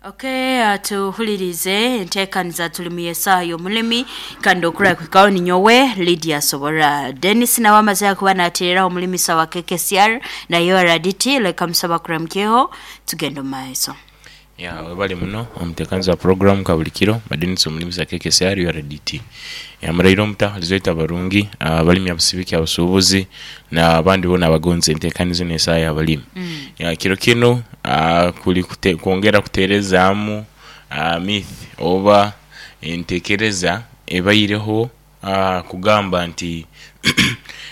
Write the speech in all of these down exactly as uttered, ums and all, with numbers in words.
Okay, uh, tuhulirize enteekaniza tuli mu y'essaaha y'omulimi kandi okura kwikaho ninyowe Lydia Sobora Dennis nawe amaze kuba nateereraho omulimisa wa K K C R nayo R D T. Leka musaba kuramukyeho, tugenda omu maiso. Ya, webale muno omuteekaniza wa program ka buli kiro Madenisi omulimisa K K C R U R D T. Yamuraire omuta lizoita barungi abalimi, abasibiki, abasuubuzi n'abandi boona abagonza enteekaniza n'esaaha y'abalimi. mm. Ya, kiro kinu ah, kuli kute, kwongera kuteerezaamu ah, myth oba enteekereza ebaireho ah, kugamba nti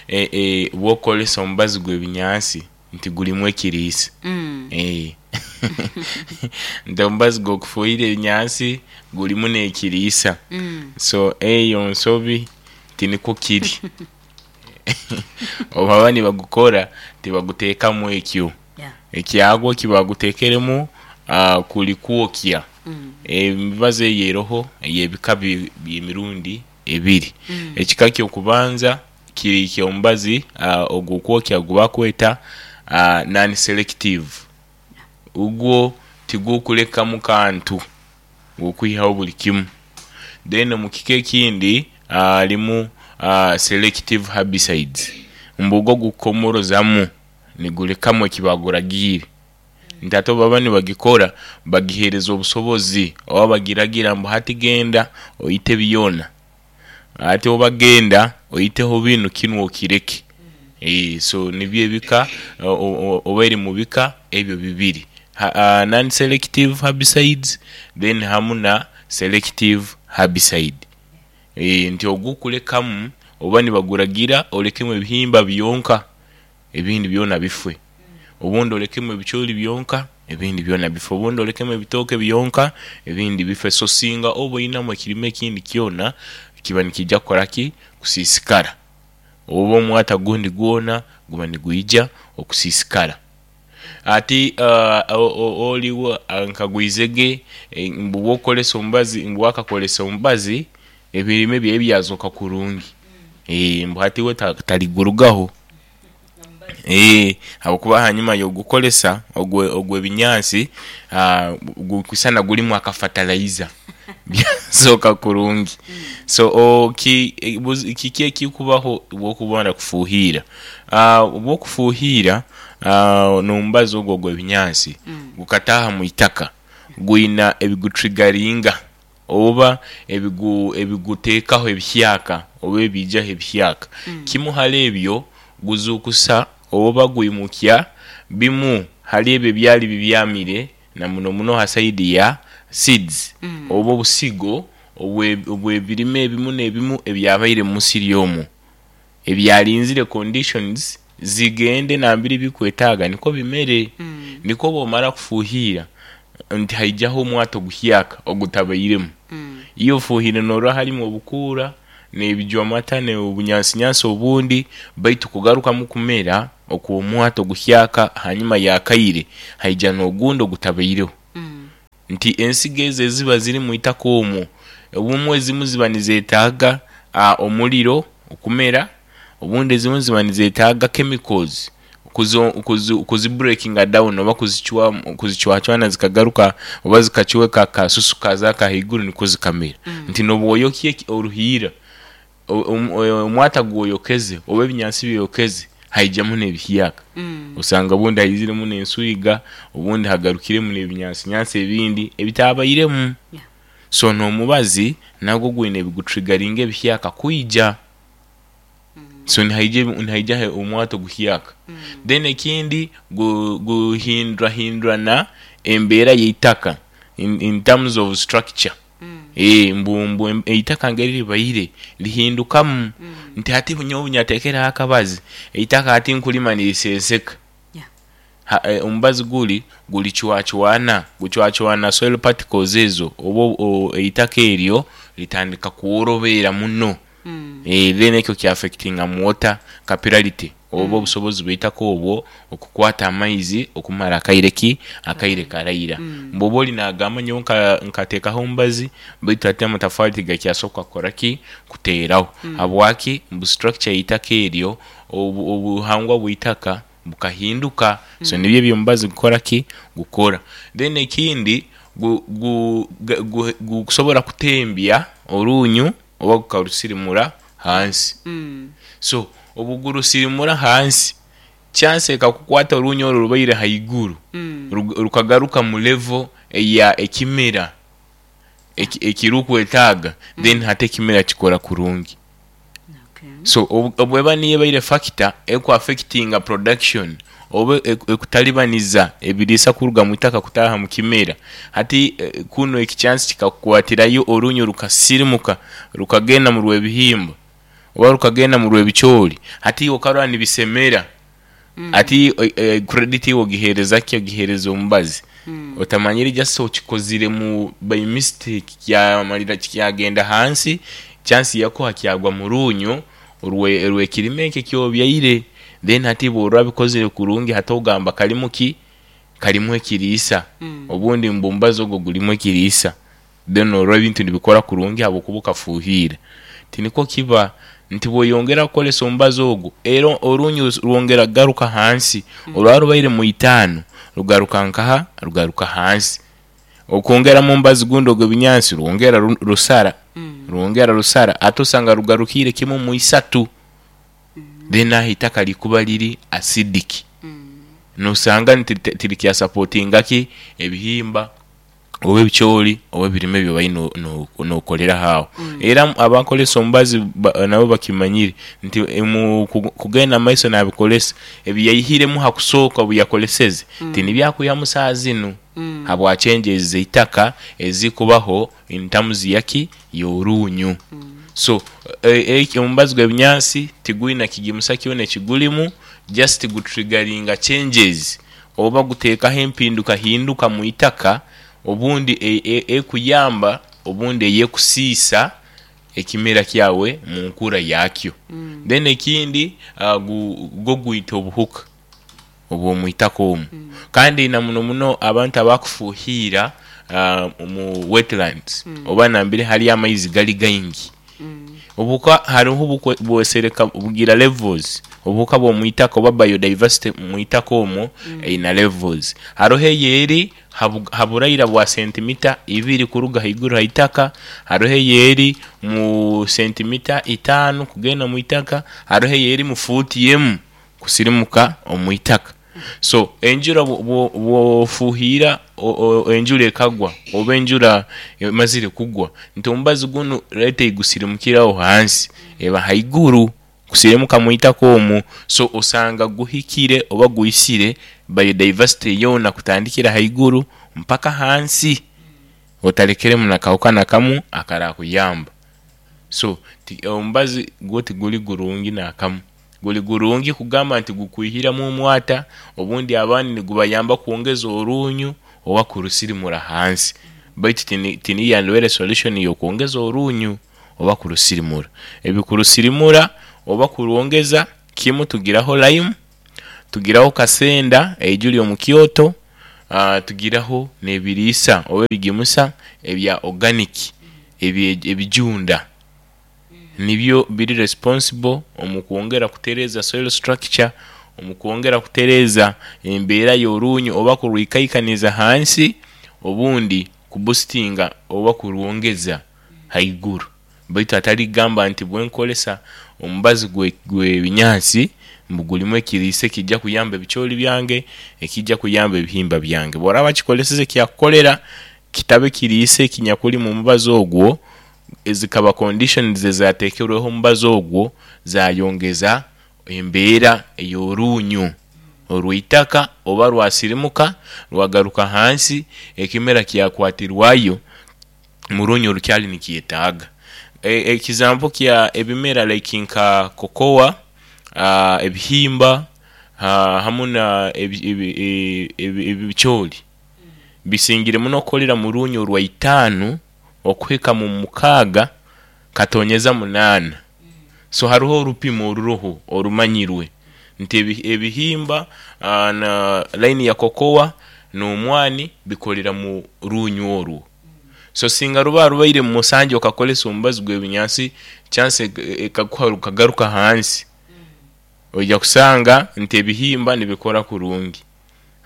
e, e, bw'okukolesa omubazi gw'ebinyansi nti gulimu ekiriisa. Mm. Eh. Nti omubazi gw'okufuuhira ebinyansi gulimu n'ekiriisa. Mm. So eyo nsobi, tinikwo kiri. Obu baba nibagukora tibaguteekamu ekyo. Yeah. Ekyagwo ekibaguteekeremu ah, kuli kwokya. Mm. Emibazi eyo eroho ey'ebika bi- by'emirundi ebiri. Mm. Ekika ky'okubanza kiri ky'omubazi ah, ogw'okwokya gubakweta ah, non selective. Ugwo tigukulekamu kantu, gukwihaho buli kimu. Then omu kika ekindi halimu uh, selective herbicides, mbu gwo gukomorozamu nigulekamu ekibaguragiire. Nti ate obu baba nibagikora bagiheereza obusobozi oba bagiragira mbu hati genda oite byona, ate oba genda oiteho binu, kinu okireke. Eh, so nibyo ebika o- o- oba eri mu bika ebyo bibiri, uh, non selective herbicides then hamu na selective herbicide. E, nti ogukulekamu oba nibaguragira olekemu ebihimba byonka, ebindi byona bife, obundi olekemu ebicooli byonka, ebindi byona bife, obundi olekemu ebitooke byonka, ebindi bife. So singa oba oinamu ekirime ekindi kyona kiba nikija kukoraki? Kusiisikara, oba omwata gundi gwona guba nigwija okusiisikara. Ati uh, oliwo nkagwizege mbu bwokukolesa omubazi, mbu wakakolesa omubazi ebirime byawe byazooka kurungi. e, mbu hati we taligurugaho e, habwokuba hanyuma y'ogukolesa ogw'ebinyansi gukwisana gulimu akafatalaiza, byazooka kurungi. So o, ki, kiki ekikubaho obwokumara kufuuhiira? Obwokufuuhiira n'omubazi ogwo ogw'ebinyansi Mm. gukataaha mu itaka, gwina ebigutrigaringa oba ebigu ebiguteekaho ebihyaka oba ebiijaho ebihyaka. Mm. Kimu hali ebyo, guzuukusa oba gwimukya bimu hali ebyo ebyali bibyamire, na muno muno ha saidi ya seeds Mm. oba obusigo obw'ebirime ebimu n'ebimu ebyabaire mu musiri omwo ebyalinzire conditions zigende nambere bikwetaaga nikwo bimere. Mm. Nikwo bwomara kufuuhiira nti haijaho omwata oguhyaka ogutabairemu. Mm. Iwe ofuuhire norora halimu obukuura n'ebijwamata n'obunyansinyansi obundi, baitu kugarukamu kumera okw'omwata oguhyaka hanyuma y'akaire haija n'ogundi ogutabaireho. Mm. Nti ensigo ezo eziba ziri mu itaka omwo, obumwe ezimu ziba nizeetaaga uh, omuliro okumera, obundi ezimu ziba nizeetaaga chemicals kuzo, kuzi, kuzi breakinga down oba kuzicwacwana zikagaruka oba zikacweka akasusu kaza ahaiguru nikwo zikamera. Mm. Nti n'obwoyokya oruhiira, omwata gwoyokeze oba ebinyansi byoyokeze, haijamu n'ebihyaka. Mm. Osanga obundi haiziremu n'enswiga, obundi hagarukiremu n'ebinyansinyansi ebindi ebitabairemu. Yeah. So n'omubazi nagwo gwine ebigutrigaringa ebihyaka kwija. Mm. So nihaija nihaija omwata oguhyaka. Mm. Then ekindi, guhindurahindurana embeera y'eitaka in, in terms of structure. Mm. E, mbu mbu eitaka ngeri libaire lihindukamu. Mm. Nti hati nyowe obunyateekereho akabazi, eitaka hati nkulima nirisenseka. Yeah. Ha, e, omubazi guli gulicwacwana, gucwacwana soil particles ezo oba eitaka eryo litandika kworobera muno. Mm. E, then ekyo kyaffectinga mu water capillarity oba Mm. obusobozi bw'eitaka obwo okukwata amaizi okumara akaire ki akaire karaira. Mm. Mbu oba oli nagamba nyowe nkateekaho omubazi baitu hati amatafaali tigakyasoboka kukora ki? Kuteeraho. Mm. Habwaki? Mbu structure y'eitaka eryo, obuhangwa bw'eitaka bukahinduka. So Mm. nibyo ebyo omubazi gukora ki? Gukora. Then ekindi gu- gu- gu- gu- gukusobora kutembya orunyu oba gukarusirimura hansi. Mm. So obugurusirimura hansi, chance ekakukwata orunyu oru rubaire haiguru, Mm. rug- rukagaruka mu level eya ekimera eki- ekirukwetaaga, then hati ekimera kikora kurungi. Okay. So obu- obweba niyo ebaire factor ekuaffectinga production oba eku- ekutalibaniza ebiriisa kuruga mu itaka kutaaha mu kimera, hati eh, kuno ekichansi kikakukwatirayo orunyu rukasirimuka rukagenda mu rw'ebihimba oba rukagenda mu rw'ebicoori, hati okarora nibisemera. Ati eh, eh, credit ogihereza ki? Ogihereza omubazi. Mm. Otamanyire, just okikozire mu by mistake, kyamalira kyagenda hansi, chance yakuha kyagwa mu runyu orwe rw'ekirime eki ekyobyaire. Then hati bw'oraba bikozire kurungi, hati ogamba kalimu ki? Kalimu ekiriisa. Mm. Obundi mbu omubazi ogwo gulimu ekiriisa, then orora ebintu nibikora kurungi habwokuba okafuuhiira. Tinikwo kiba nti bw'oyongera kukolesa omubazi ogwo, era orunyu rwongera kugaruka hansi. Orwaba rubaire mu itaano, rugaruka nkaha? Rugaruka hansi. Okwongeramu omubazi gundi ogw'ebinyansi, rwongera ru- rusara, Mm. rwongera rusara, ate osanga rugarukiire kimu mu isatu. Then aho itaka likuba liri acidic, Mm. nosanga nti tirikyasupportinga ki? Ebihimba oba ebicoori oba ebirime byobaire no- no- nokoleraho aho. Era abakolesa omubazi ba- nabo bakimanyire nti eh, mu ku- kugenda mumaiso nabikolesa, ebiyaihiremu hakusooka obu yakoleseze tinibyakuihamu saaha zinu, Mm. habwa changes zeitaka ezikubaho in terms yaki? Y'orunyu. So eh, eh, omubazi gw'ebinyansi tigwina kigimusa kyona ekigulimu, just gutriggeringa changes oba guteekaho empinduka hinduka mu itaka, obundi e- e- ekuyamba, obundi eyekusiisa ekimera kyawe mu nkura yakyo. Mm. Then ekindi, uh, gu- gwo gwita obuhuka obw'omu itaka omu. Kandi na muno muno abantu abakufuuhiira uh, mu wetlands oba nambere hali amaizi gali gaingi, Mm. obuhuka hariho obukwe- bwesereka bugira levels. Obuhuka bw'omu itaka oba biodiversity mu itaka omwo eina levels. Hariho eyeri habu- haburaira bwa sentimita ibiri kuruga haiguru haitaka, hariho eyeri mu sentimita itaano kugenda mu itaka, hariho eyeri mu fuuti emu kusirimuka omu itaka. So enjura bwo- bwo- bwofuuhiira, o- o- enjura ekagwa oba enjura emazire kugwa, nti omubazi gunu rete igusirimukiraho hansi, eba haiguru kusirimuka mu itaka omwo. So osanga guhikire oba guisire biodiversity yoona kutandikira haiguru mpaka hansi, otalekeremu nakawuka nakamu akarakuyamba. So ti- omubazi gwo tiguli gurungi nakamu. Guli gurungi kugamba nti gukwihiramu omwata, obundi abandi nigubayamba kwongeza orunyu oba kurusirimura hansi, baitu tini- tiniyandibaire solution y'okwongeza orunyu oba kurusirimura. Ebikurusirimura oba kurwongeza kimu, tugiraho lime, tugiraho kasenda eijuli omu Kyoto, uh, tugiraho n'ebiriisa oba ebigimusa ebya organic, ebi- ebijunda nibyo biri responsible omu kwongera kutereeza soil structure, omu kwongera kutereeza embeera y'orunyu oba kurwikaikaniza hansi, obundi kuboostinga oba kurwongeza haiguru. Baitu atali kugamba nti bwenkolesa omubazi gwe- gw'ebinyansi mbu gulimu ekiriisa ekijja kuyamba ebicoori byange, ekijja kuyamba ebihimba byange. Bw'oraba kikoleseze kyakukolera, kitabe kiriisa ekinyakuli mu mubazi ogwo, zikaba conditions ezateekerweho omubazi ogwo zayongeza embeera ey'orunyu orw'itaka, oba rwasirimuka rwagaruka hansi, ekimera kyakwatirwayo mu runyu orukyali nikyetaaga. E- ekizampo kya ebimera like nka cocoa, uh, ebihimba, uh, hamu na ebi- ebi- e- ebi- ebicoori bisingire muno kukolera mu runyu orwa itaano okuhika mu mukaaga katonyeza munaana. So hariho orupimo oruroho orumanyirwe nti ebi- ebihimba uh, na line ya cocoa n'omwani bikolera mu runyu orwo. So singa ruba rubaire mu musanju, okakolesa omubazi gw'ebinyansi, chance ekakuha rukagaruka hansi, ojja kusanga nti ebihimba nibikora kurungi.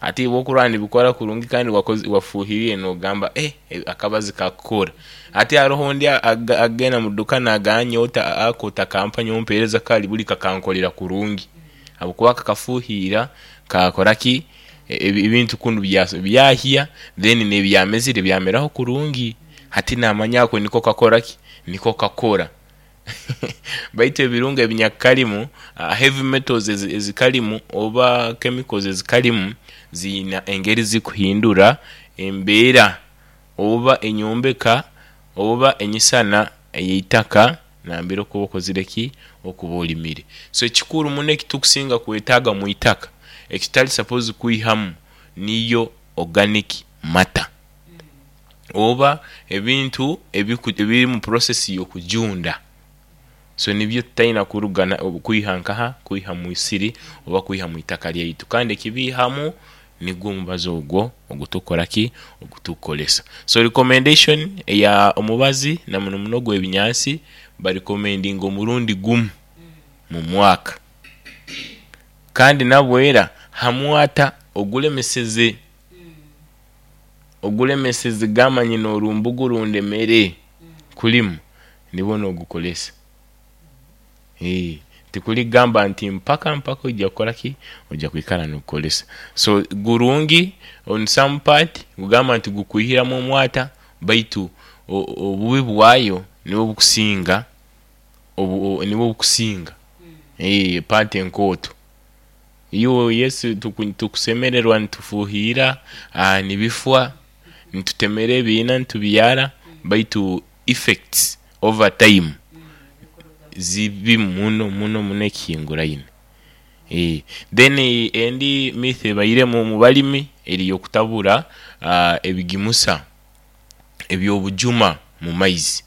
Ati wokurwa nibikora kurungi kandi wakoze wafuhiriye nogamba eh akabazi kakukora. Ati haroho ndi agenda mu duka naganyota akota kampani ompereza kali buli kakankolera kurungi. Abukuba kakafuhira kakora ki ebintu kundu byahia then nebyamezire byameraho kurungi. Hati namanya ko niko kakora ki niko kakora. Baitu ebirungo ebinyakalimu uh, heavy metals ezikalimu oba chemicals ezikalimu zina engeri zikuhindura embeera oba enyombeka oba enyisana eyitaka nambere okuba okozire ki okuba olimire. So ekikuru muno ekitukusinga kwetaaga mu itaka ekitali suppose kwihamu niyo organic matter oba ebintu ebiri mu process y'okujunda. So nibyo tutaina kurugana kwiha nkaha kwiha mu isiri oba kwiha mu itaka lyaitu, kandi ekibihamu nigwo omubazi ogwo ogutukora ki ogutukolesa. So recommendation eya omubazi na muno muno gw'ebinyansi barecommendinga omurundi gumu mu mwaka, kandi nabwera hamwata ogulemeseze ogulemeseze gamanyi n'orumbugu rundemere kulimu nibwo nogukolesa. Eh, tikuligamba nti mpaka mpaka ojja kukora ki ojja kwikara nokukolesa. So gurungi on some part gugamba nti gukwihiramu omwata, baitu obubi bwayo nibwo bukusinga obu nibwo bukusinga eh part enkooto. Iyo Yesu tukusemererwa nitufuhira nibifwa nitutemera ebiina nitubyara, baitu effects over time zibi muno muno muno ekihinguraine. Eh, then endi myth ebairemu mu balimi eri yokutabura uh, ebigimusa ebyobujuma mu maizi.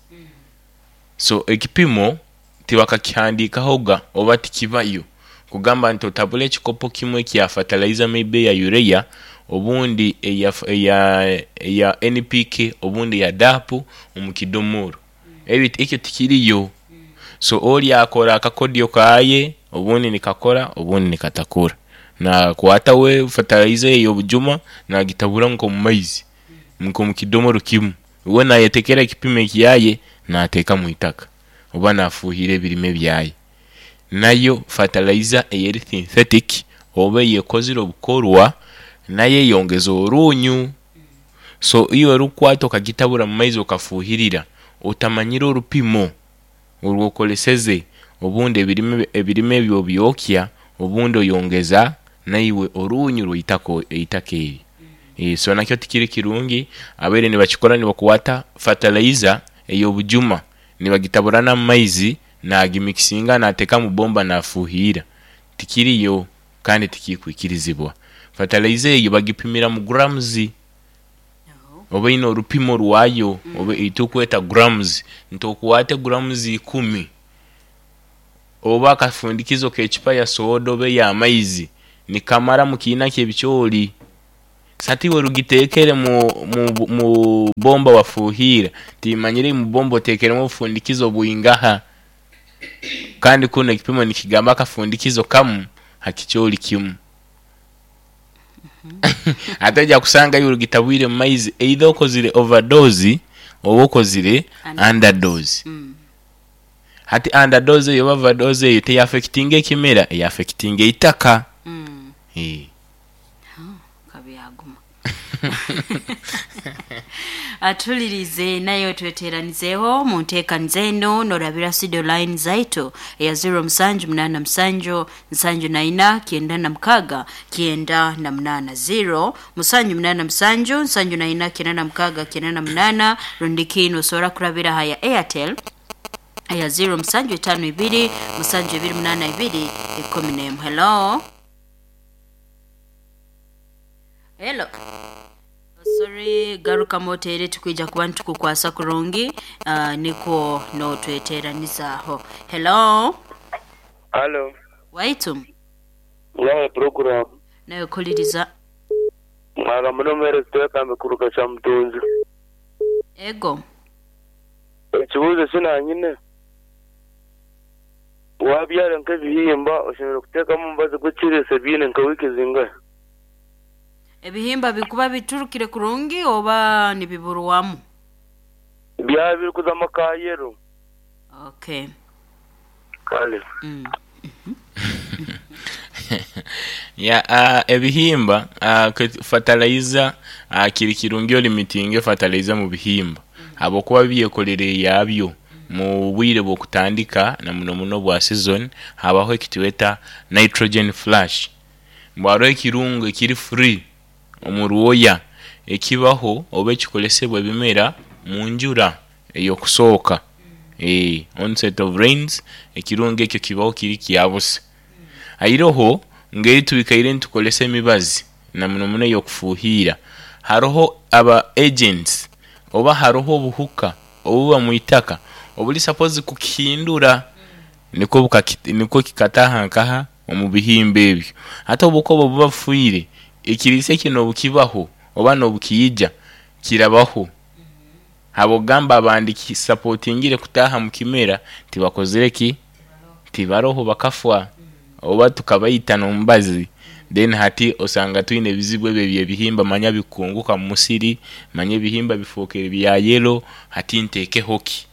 So ekipimo tibakakihandikahoga oba tikibayo kugamba nti otabula ekikopo kimwe kya fertilizer maybe ya urea obundi eya eya eya N P K obundi ya D A P omu kidomoro ebi ekyo tikiriyo. So oli akora akakodyo kaye obundi nikakora obundi nikatakora, na kwata we fertilizer ey'obujuma nagitabura nko mu maizi nko mu kidomoro kimu, we nayetekera ekipimo ekyaye nateeka mu itaka oba nafuhira ebirime byaye. Nayo fertilizer eyeri synthetic oba eyekozire obukorwa nayo eyongeza orunyu. So iyo orukwata okagitabura mu maizi okafuhirira otamanyire orupimo orwokoleseze, obundi ebirime ebirime ebyo byokya obundi oyongeza naiwe orunyu rw'itaka eitaka eryo. E, so nakyo tikiri kirungi. Abaire nibakikora nibakwata fertilizer ey'obujuma nibagitabura n'amaizi nagimikisinga nateeka mu bomba nafuhira, tikiriyo kandi tikikwikirizibwa. Fertilizer eyo bagipimira mu grams oba ine orupimo rwayo oba itukweta grams, nti grams ikumi oba akafundikizo k'ekipa ya soda oba ey'amaizi nikamara mu kiina ky'ebicoori. Sati iwe rugitekere mu, mu, mu bomba wafuhira timanyire mu bomba otekeremu obufundikizo bwingaha, kandi kuno ekipimo nikigamba akafundikizo kamu hakicoori kimu. Ate ojja kusanga iwe rugitabwire mu maizi either okozire overdose oba okozire underdose. Mm. Hati underdose eyo oba overdose eyo teyafectinga ekimera, eyafectinga eitaka. Mm. Eh. Kabyaguma. Atulirize nayo tweteranizeho mu nteekaniza eno norabira studio line zaitu eya zero musanju munana musanju nsanju na ina kyenda na mukaga kyenda na munana zero musanju munana musanju nsanju na ina kyenda na mukaga kyenda na munana rundiki osobola kurabira haya Airtel eya zero musanju etano ibiri musanju ibiri munana ibiri ikumi n'emu. Hello. Hello. Sorry, garuka motere tukwija kuba nitukukwasa kurungi uh, niko no tweteranizaho. Hello. Hello. Waitu. Ngaye program. Nayo kuliriza. Mwaga muno ziteka mikuruka cha mtunzi. Ego. Ekibuzo sinanyine. Wabyara nk'ebihimba oshemereire kuteekamu omubazi gw'ekiriisa byine nka wiiki zingahi? Ebihimba bikuba biturukire kurungi oba nibiburwamu? Byaba biri kuzamu ka yero. Okay. Kale. Mm. Ya, uh, ebihimba, uh, fertilizer, uh, kiri kirungi olimitinge fertilizer mu bihimba habwokuba byekolere yabyo mu bwire bw'okutandika na muno muno bwa season habaho ekitweta nitrogen flash, mbwaro ekirungo ekiri free omu rwoya ekibaho oba ekikolesebwa ebimera mu njura ey'okusooka, eh, onset of rains, ekirungo ekyo kibaho kiri kyabusa. Airoho ngeri twikaire nitukolesa emibazi na muno muno ey'okufuuhiira, haroho aba agents oba haroho obuhuka obuba mwitaka obuli suppose kukihindura nikwo bukaki nikwo kikataaha nkaha omu bihimba ebyo. Ate obuhuka obwo buba bufiire, ekiriisa kinu obukibaho oba n'obukiija kirabaho, habwokugamba abandi kisapotingire kutaaha mu kimera tibakozire ki, tibaroho bakafwa oba tukabaita n'omubazi, then hati osanga twine ebizibu ebyo eby'ebihimba manya bikunguka mu musiri, manya ebihimba bifookere bya yelo, hati nteekeho ki?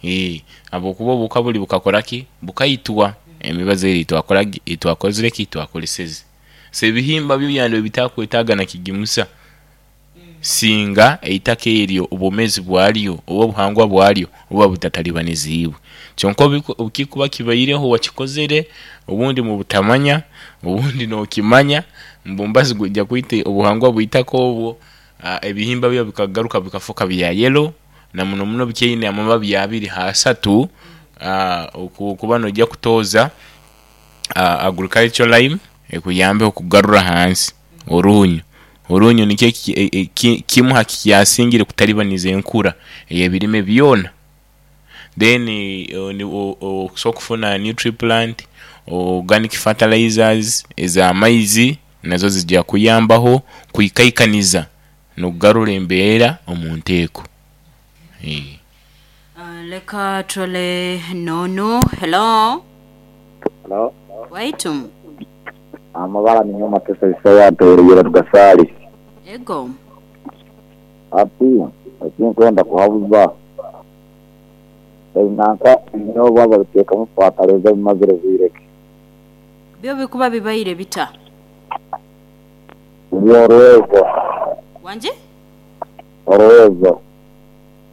Eeh habwokuba obuhuka buli bukakora ki, bukaitwa emibazi eri eitwakoragi eitwakozire ki, twakoleseze. So ebihimba byo byandibaire bitakwetaaga na kigimusa singa eitaka eryo obwomeezi bwaryo oba obuhangwa bwaryo buba butatalibaniziibwe. Kyonka obu obukikuba kibaireho wakikozere obundi mubutamanya, obundi nookimanya ngu omubazi gwija kwita obuhangwa bw'itaka obwo, aa ebihimba byo bikagaruka bikafuuka bya yelo na muno muno bikyaine amababi abiri h'asatu, aa oku okuba noija kutooza aa agricultural lime ekuyambeho okugarura hansi oruunyo. Oruunyo nikyo eki ki kimu ha kikyasingire kutalibaniza enkura ey'ebirime byona. Then okusobola okufuna nutriplant, organic fertilizers ez'amaizi nazo zija kuyambaho kwikaikaniza n'okugarura embeera omu nteeko. Eeh. Uh, leka turole nono. Hello. Hello. Waitu. Amabara ni nyuma tesa Isaya ntoyereire Rugasaali. Ego. Ati ekinkwenda kuhabuza ebinanka ebinyobwa babiteekamu fertilizer bimazire bwire ki? Byo bikuba bibaire bita? Biri oruwezo. Wanje? Oruwezo.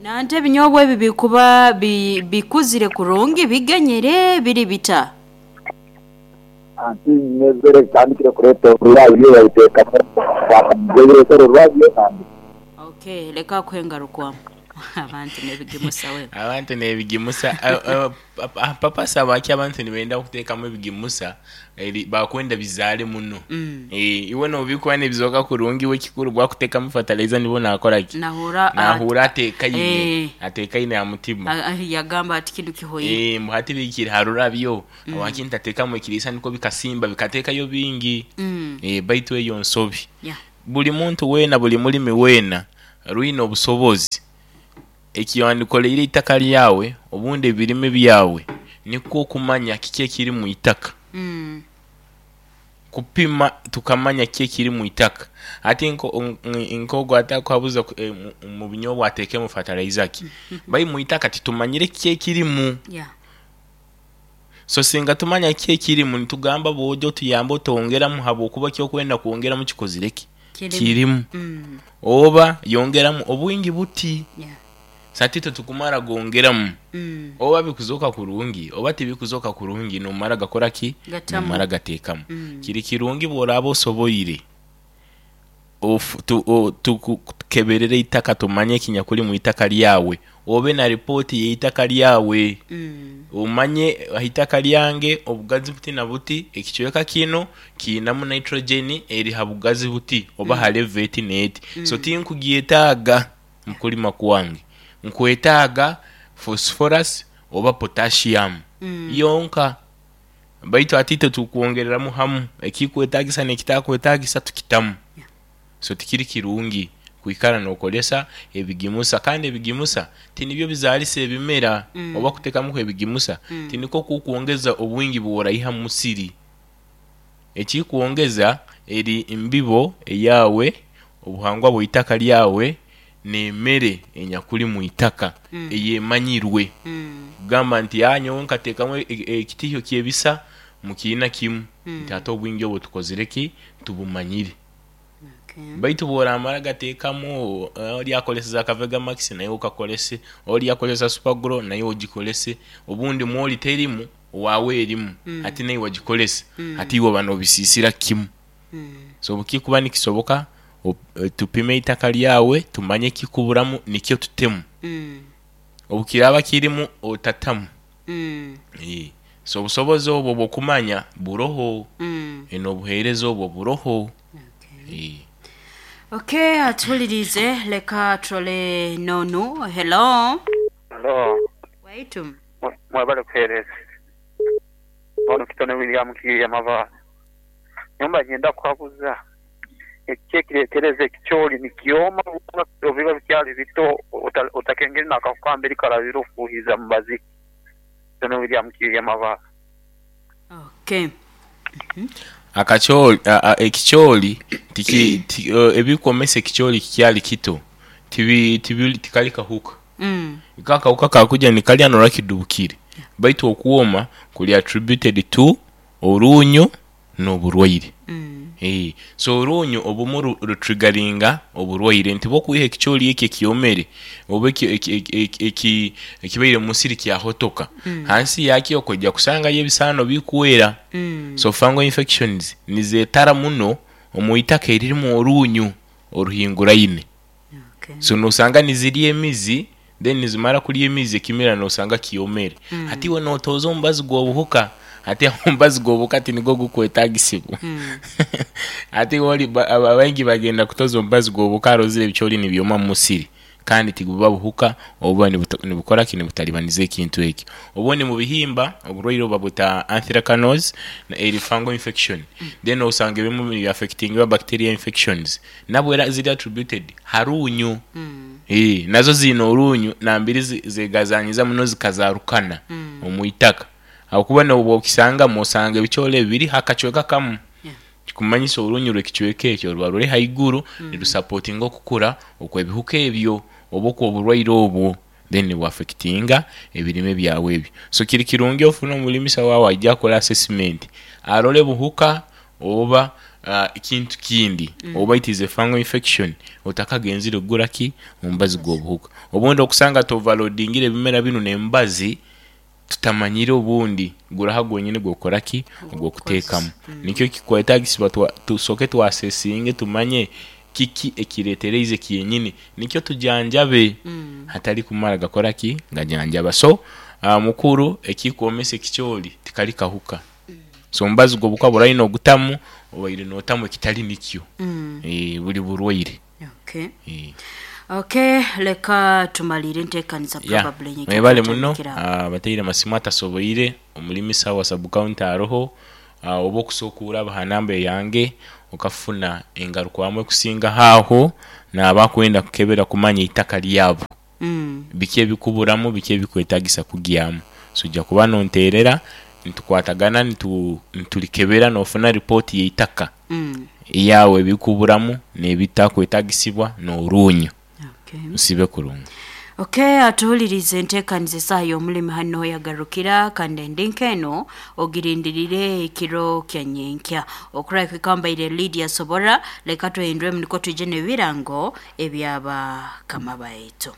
Nante ebinyobwa ebi bikuba bi, bikuzire kurungi bigenyere biri bita? Anti mezere bitandikire kureeta orurabyo babiteekamu fertilizer orurabyo kandi. Okay, leka kuhengarukwamu. Abantu n'ebigimusa we. Abantu n'ebigimusa, purpose habwaki abantu nibenda kuteekamu ebigimusa eri bakwenda bizaale muno. Mm. Eeh iwe noobikuba nibizooka kurungi iwe ekikuru bwakuteekamu fertilizer nibwo naakora ki, Nahura nahuura ateekaine, Eh. ateekaine aha mutima. A- a- yagamba ati kinu kihoire. Eeh mbu hati bikiri ha rurabyo, habwaki ntateekamu ekiriisa nikwo bikasimba bikateekayo bingi. Mm. Eeh baitu eyo nsobi. Yeah. Buli muntu weena buli mulimi weena rwine obusobozi ekiwandikoleire eitaka lyawe obundi ebirime byawe nikwo okumanya kiki ekiri mwitaka. Mm. Kupima tukamanya kiki ekiri mwitaka. Ati nko nk'ogu atakuhabuza mu binyobwa ateekemu fertilizer ki, bai mwitaka titumanyire kiki ekirimu. Yeah. So singa tumanya kiki ekirimu nitugamba bw'oja otuyambe otongeramu habwokuba ekyokwenda kwongeramu kikozire ki, Kirimu. kirimu. Mm. Oba yongeramu obwingi buti. Yeah. So ati titukumara gongeramu. Mm. Oba bikuzooka kurungi oba tibikuzooka kurungi nomara gakora ki, Gatamu. nomara gateekamu. Mm. Kiri kirungi bw'oraaba osoboire ofu tu o tukukeberere eitaka tumanye ekinyakuli mwitaka lyawe, obe na ripooti y'eitaka lyawe. Mm. Omanye haitaka lyange obugazi buti na buti, ekicweka kinu kiinamu nitrogen eri ha bugazi buti oba ha level eti n'eti. So tinkugyetaaga mu kulima kwange, nkwetaaga phosphorus oba potassium Mm. yonka. Baitu ati itwe tukwongereramu hamu ekikwetaagisa n'ekitakwetaagisa tukitamu. Yeah. So tikiri kirungi kwikara n'okozesa ebigimusa kandi ebigimusa tinibyo bizaalisa ebimera Mm. oba kuteekamuku ebigimusa Mm. tinikwo kukwongeza obwingi bw'oraiha mu musiri. Ekikwongeza Eri mbibo eyawe, obuhangwa bw'eitaka lyawe n'emmere enyakuli mu itaka Mm. eyemanyirwe. Mm. Kugamba nti "Ah, nyowe nkateekamu e- e- ekitihyo kyebisa mu kiina kimu," Mm. nti ate obwingi obwo tukozire ki, tubumanyire. Okay. Baitu bworamara gateekamu, eh, oli akoleseza akavega max naye okakolese, oli akolesa supergro naye ogikolese, obundi mwoli terimu, waawe erimu. Mm. Ate naye wagikolesa. Mm. Ate iwe bano obisiisira kimu. Mm. So bukikuba nikisoboka, op- eh, tupime eitaka lyawe, tumanye ekikuburamu nikyo tutemu. Mm. Obukiraba kirimu otatamu. Mm. Eh, so obusobozi obwo bwokumanya buroho. Mm. Eno obuheereza obwo buroho. Okay. Eh. Okay, atuwulirize, leka tulole nonu. Hello. Hello. Waitu. Mwebale kuheereza. Ono Kitone William Kirya Mavaali. Nyumba nyenda kukaguza ekiki ekireetereza ekikyoli nikyoma obiba bikyali bito, ota- otakengere nakakukambiri karabira ofuuhiza mubazi. Kitone William Kirya Mavaali. Okay. Akakyoli a- a- ekikyoli tiki, ti, uh, ebikomesa ekikyoli kikyali kito tibi, tibi, tikali kahuka. Mm. Kakawuka kakuja nikalya norakidubukire, baitu okuwoma kuli attributed to orunyo n'oburwaire. Mm. Eh, so orunyo obumu ru- rutrigaringa oburwaire nti bwokwiha ekikyoli eki ekyomere oba eki- eki- eki- eki- eki- ekibaire musiri kyahotoka. Mm. Hansi yakyo okujja kusangayo ebisaano bikwera. Mm. So fungal infections nizetara muno omu itaka eririmu orunyu oruhinguraine. Okay. So nosanga nizirya emizi, then nizimara kurya emizi ekimera nosanga kiyomere. Mm. Hati iwe notoza omubazi gw'obuhuka, ate aho omubazi gw'obuhuka tinigwo gukwetagisibwa. Mm. Ate wali ba- aba- abaingi bagenda kutoza omubazi gw'obuhuka arozire ebikyoli nibyoma mu musiri, kandi tiguba buhuka obuba nibuta- nibukora ki, nibutalibaniza ekintu ekyo. Obundi mu bihimba oburwaire obuba buta anthracnose na eri fungal infection. Then osanga ebimu bi affecting bacteria infections, nabwo era ziri attributed harunyu. Mm. Eh, nazo zina orunyu nambiri zi- zegazanyiza muno zikazarukana Mm. omu itaka, ahakuba nobwo okisanga osanga ebikyole bibiri hakacweka kamu. Yeah. Kikumanyisa orunyu rw'ekicweka ekyo ruba ruri haiguru, mm. nirusapotinga okukura okw'ebihuka ebyo oba okw'oburwaire obwo, then nibwafectinga ebirime byawe ebyo. So kiri kirungi ofune omulimisa waawe ajja akole assessment, arole buhuka oba uh, ekintu kindi, mm. oba it is a fungal infection, otakagenzire kugura ki omubazi gw'obuhuka. Obundi okusanga toverloadingire ebimera binu n'emibazi tutamanyire, obundi guraha gwonyini gwokora ki, ogwokuteekamu. Nikyo kikwetagisibwa twa- tusooke twasesinge, tumanye kiki ekireetereize kyenyini, nikyo tujanjabe. Mm. Hatali kumara gakora ki gajanjaba. So uh, mukuru, ekikwomesa ekikyoli tikali kahuka. So omubazi gw'obuhuka buraine ogutamu obaire notamu ekitali nikyo. Mm. Eh, buli burwaire. Okay. Eh. Okay, leka tumalire enteekaniza. Ya, Probably nyekyo mwebale muno. tutandikira. Ah, bateire masimu atasoboire, omulimisa wa subcounty aroho, ah, oba okusookura abaha namba eyange okafuna engarukwamu ekusinga haaho naaba kwenda kukebera kumanya eitaka lyabo, Mm. biki ebikuburamu, biki ebikwetagisa kugyamu. So ojja kuba nonteerera, nitukwatagana, nitu- nitulikebera nofuna ripooti y'eitaka Mm. eyawe, ebikuburamu n'ebitakwetagisibwa n'orunyu. Okay. Nsibe kurungi. Okay, atuwulirize, enteekaniza esaaha y'omulimi hano yagarukira, kandi endinka eno ogirindirire ekiro kya nyenkya okuraika. Mbaire Lydia Sobora, leka tuhinduremu niko twije n'ebirango ebyabakama baitu.